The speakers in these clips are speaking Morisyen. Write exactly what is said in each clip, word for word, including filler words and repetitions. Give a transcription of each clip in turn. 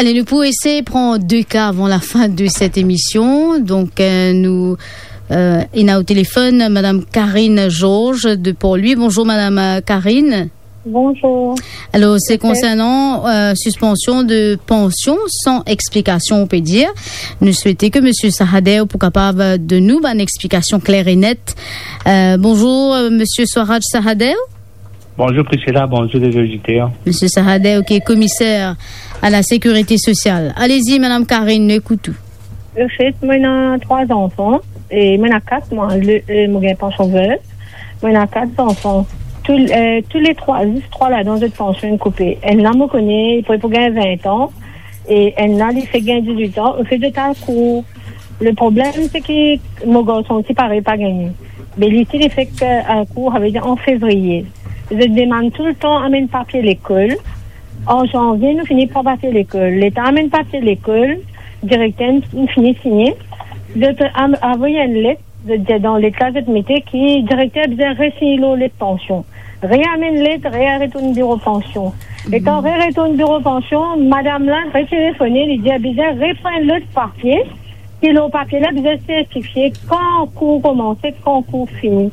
Allez, nou pou esey pran de ka avan lafin de set emision. Donk, euh, nou, euh, ena o telefonn Madame Karine Georges de Port-Louis. Bonzour, Madame, euh, Karine. Bonzour. Alor, se konsernan, euh, sispansion de pansion san explikasion, on peut dire. Nou swete ke Monsieur Sahadev pou kapav donn nou bann explikasion kler e net. Euh, bonzour, euh, Monsieur Swaraj Sahadev. Bonzour Priscilla, bonzour les auditeurs. Monsieur Sahadev, ki komiser a la sécurité sociale. Allez-y, Madame Karine, nou ekout ou. Anfet, mo ena trwa zanfan, e mo ena kat, mwa, le, e, mo gagn pansion veuve. Mo ena kat zanfan. Tou, e, tou le trwa, zis trwa ladan, zot pansion inn koupe. Enn la, mo kone, li pou, pou gagn vin an, e enn la, li fek gagn dizwit an, li fek al kour. Le problem, se ki mo garson ti parey pa gagne. Be li ti, li fek, e, al kour, savedir an fevriye. Zot demann toultan amenn papie lekol. An zanvie, nou fini pran papie lekol. Letan amenn papie lekol, direkter inn, inn fini signe. Zot am-, avoy enn let, zot dir dan let la, zot mete ki direkter bizin resign lor let pansion. Reamenn let, re-, retourn biro pansion. Letan re-, retourn biro pansion, madam la retelefone, li dir bizin repran lot papie, ki lor papie la bizin sertifie kan kour koumanse, kan kour fini.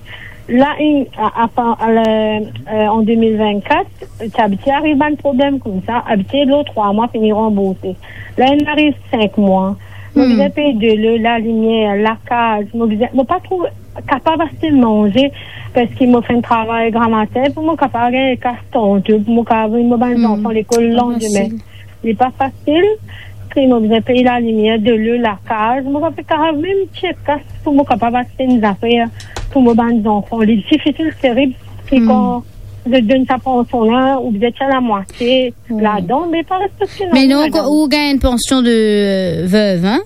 La, in, a, a, a, a, e, an de mil vennkat, ti abitie ariv bann problem koumsa, abitie lor trwa mwa fini ranbourse. La, inn ariv sink mwa. Mo bizin pey delo, lalimier, lakaz, mo bizin, mo pa trouv kapav aste manze, parski mo finn travay gramatin pou mo kapav gagn kas tante, pou mo kapav avoy mo bann zanfan lekol landime. Li pa fasil, ki mo bizin pey lalimier, delo, lakaz, mo pa pe kapav mem tir kas pou mo kapav aste enn zafer pou mo bann zanfan. Li difisil, terib, ki kan zot donn sa pansion la, ou bizin tir lamwatie ladan, me pa respekte. Me non, ladan. Ou gagn pansion de, euh, veuve, hein?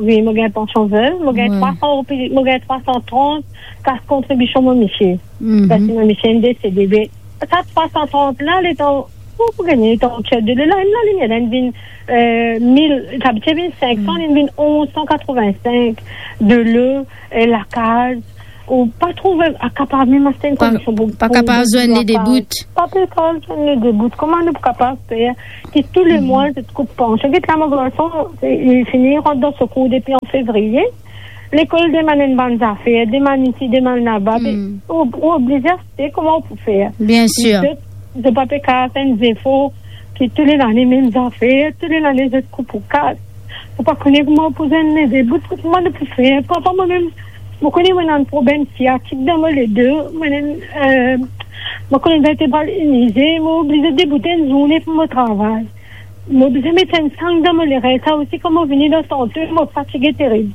Wi, mo gagn pansion veuve, mo gagn trwa san roupi, mo gagn trwa san trant kas kontribision mo misie. Parski mo misie inn desede. Be sa trwa san trant la, letan, pou, pou gagne, letan ou tir delo, la, inn lalimier la inn vinn, euh, mil, sa ti vinn sink san, inn vinn onz san katrovin-sink, delo, e, lakaz, ou pa trouv, a, kapav mem aste enn kondision pou, pa pou kapav zwenn ledebout. Pa pe kapav zwenn ledebout. Kouma nou pou kapav fer ki tou le mwa zot koup pansion? Get la, mo garson, e, li fini rant dan sekour depi an fevriye. Lekol demann enn bann zafer, demann isi, demann laba, be, ou, ou oblize aste, kouma ou pou fer? Bien sir. Zot, zot pa pe kapav fer enn zefor ki tou le lane mem zafer, tou le lane zot koup ou kas. Ou pa kone kouma ou pou zwenn ledebout, kouma nou pou fer? Parfwa mwa mem, mo kone mo ena enn problem siatik dan mo ledo, mo ena, euh, mo kolonn vertebral inize, mo oblize debout enn zourne pou mo travay. Mo bizin met enn sang dan mo lerint, sa osi, kan mo vini dan sante, mo fatige terib.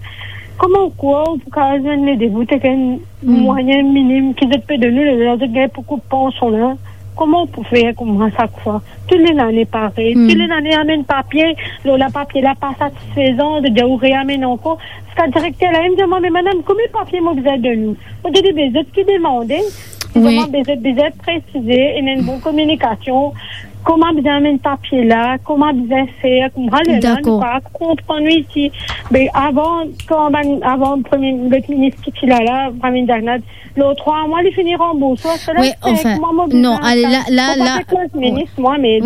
Kouma ou krwar ou pou kapav zwenn ledebout ek enn mwayin minim ki zot pe donn ou, ler zot gagn pou koup pansion la? Kouma ou pou fer koumsa sak fwa? Tou le lane parey. Tou le lane amenn papie, lor la papie la pa satisfezan, zot dir ou reamenn ankor. Ziska direkter la inn dir mwa, "Me madam, konbien papie mo bizin donn ou?" Mo dir li, "Be zot ki demande." Li dir mwa, "Be zot bizin presize, ena enn bon kominikasion, kouma bizin amenn papie la, kouma bizin fer, kouma." Lerla nou pa konpran nou isi. Be avan, kan bann, avan premie, lot minis ki ti la la, Pramindra Nath, lor trwa mwa, li fini ranbourse. Wi, anfin, non, ale, la, la, la,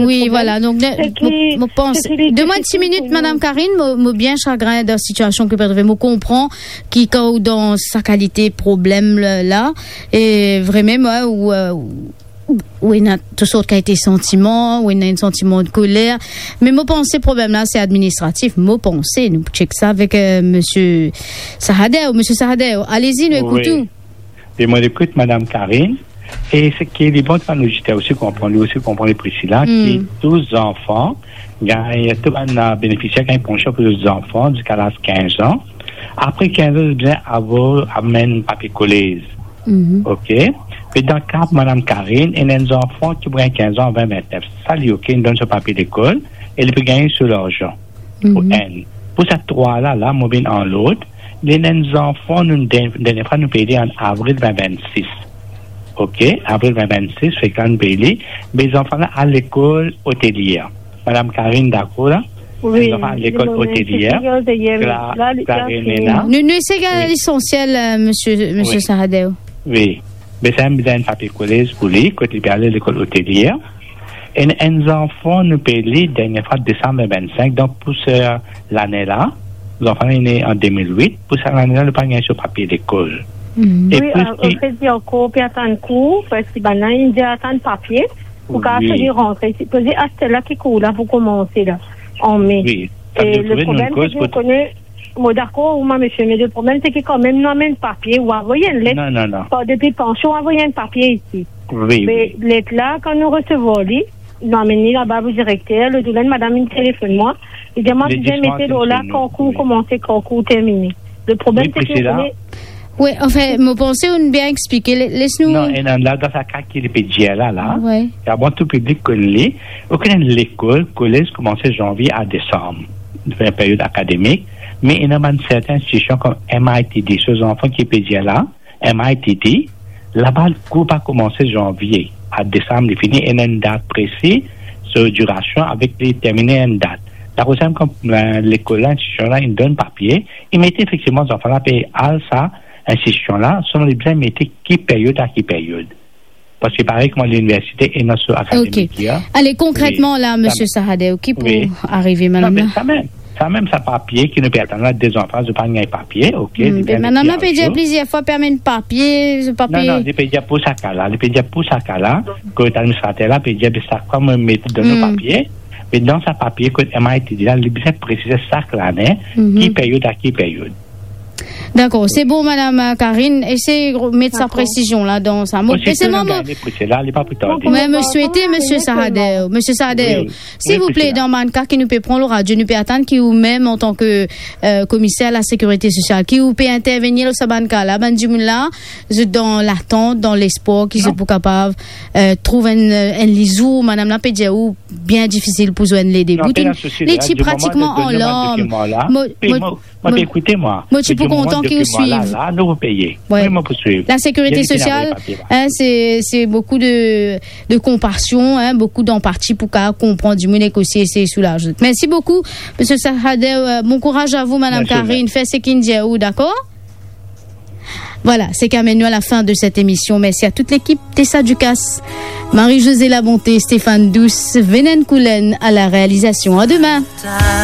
wi, vwala, donk, mo, mo pans, donn mwa enn ti minit, Madame Karine, mo, mo bien sagrin dan sitiasion ki ou pe trouve. Mo konpran ki kan ou dan sa kalite problem la, la, e vremem, wi, ou, euh, ou ena tou sort kalite santiman, ou ena enn santiman de koler. Me mo panse problem la, se administratif. Mo panse, nou pou tchek sa avek, euh, Monsieur Sahadev. Monsieur Sahadev, allez-y, nou ekout ou. Wi. E mo ekout Madame Karine. E seki li bon, bann oditer osi konpran, li osi konpran, li Priscilla, ki tou zanfan gagn, tou bann, euh, benefisier gagn pansion pou zot zanfan ziska laz kinz an. Apre kinz an, zot bizin avo-, amenn papie kolez. Ok? Me dan ka Madame Karine, ena enn zanfan ki pou gagn kinz an, vin, vintnef. Sa li ok, inn donn so papie lekol, e li pe gagn so larzan. Pou enn. Pou sa trwa la, la, mo vinn an lord, li ena enn zanfan, nou, dernie, dernie fwa nou peye li an avril vin vennsis. Ok, avril vin vennsis, fek la nou peye li, me zanfan la al lekol Otelier. Madame Karine dakor la? Wi, zanfan al lekol Otelier. Kla-, Klarine la. Nou, nou esey gagn lesansiel, euh, Monsieur, Monsieur Sahadev. Wi. Me sa, bizin enn papie kolez pou li, kot li pe ale lekol Otelier. Enn, enn zanfan, nou pe li, dernie fwa, desam vinn vinn sink, donk pou sa lane la, zanfan la inn ne an de mil wit, pou sa lane la, nou pa gagn so papie lekol. Mm. E wi, plis euh, ki anfet, li ankor pe atann kour, parski bann la inn dir atann papie, pou kapav rantre. Sipoze aster la ki kour la pou koumanse la, an me. Wi. Sa vedir trouve nou enn koz pou, mo dakor, wi, mwa, misie, me le problem, se ki kanmem nou amenn papie, ou avoy enn let. Non, non, non. Par depi pansion, ou avoy enn papie isi. Wi, wi. Me let la, kan nou resevwar li, nou amenn li laba pou direkter, le zour la, madam inn telefonn mwa, li dir mwa, bizin mete lor la, kan kour koumanse, kan kour termine. Le problem, se ki ou kone, wi, anfin, mo panse ou'nn bien explike. Le-, les nou... Non, e non, la, dan sa ka ki li pe dir la, la, wi, e bon tou piblik konn li, ou konn lekol, kolez koumanse zanvie a desam, period akademik, me ena bann sertin institision kom M I T D, so zanfan ki pe dir la, M I T D, laba kour pa koumanse zanvie a desam, li fini, ena enn dat presi, so dirasion avek li termine enn dat. Lakoz same kan, euh, lekol la, institision la, inn donn papie, li mete efektivman zanfan la pe al sa institision la, selman li bizin mete ki period a ki period. Parski parey kouma liniversite ena so akademik, ya. Ale, konkretman la, misie Sahadeo, ki pou arive, madam la? Non, me sa mem, sa mem, sa papie ki nou pe atann la, de zanfan, zot pa gagn papie, ok, li pe met li anzo. Madam la pe dir plizier fwa, pe amenn papie, zot pa pe... Non, non, li pe dir pou sa ka la, li pe dir pou sa ka la, kot administrater la pe dir, be sa kwa mo met dan nou papie, me dan sa papie kot M I T D la, li bizin presize sak lane, ki period a ki period. Dakor, se bon, madam, euh, Karine, esey met sa presizion la dan sa mo. Osi, e selman mo, li pa pou tarde. Mwa, mo swete, misie Sahadeo, misie Sahadeo, silvouple, dan bann ka ki nou pe pran lor radio, nou pe atann ki ou mem, antan ke, euh, komiser lasekirite sosial, ki ou pe intervenir lor sa bann ka la, bann dimoun la, zot dan latant, dan lespwar ki zot pou kapav, euh, trouv enn, enn lizour, madam la pe dir ou bien difisil pou zwenn lede. Non, pena sousi, li ti pratikman an larm. Mo, mo, Mo, mo, ekoute mwa. Mo ti pou kontan ki ou swiv. La, nou pou peye. Wi. Wi, mo pou swiv. Lasekirite sosial, hein, se, se boukou de, de konpasion, hein, boukou danpati pou ka konpran dimoun ek osi esey soulaz zot. Mersi boukou, misie Sahadeo, euh, bon kouraz a vou, madam Karine. Fer seki inn dir ou, dakor? Voilà, seki amenn nou a la fin de cette émission. Merci à toute l'équipe, Tessa Ducasse, Marie-Josée Labonté, Stéphane Douce, Venen Koulen à la réalisation. À demain.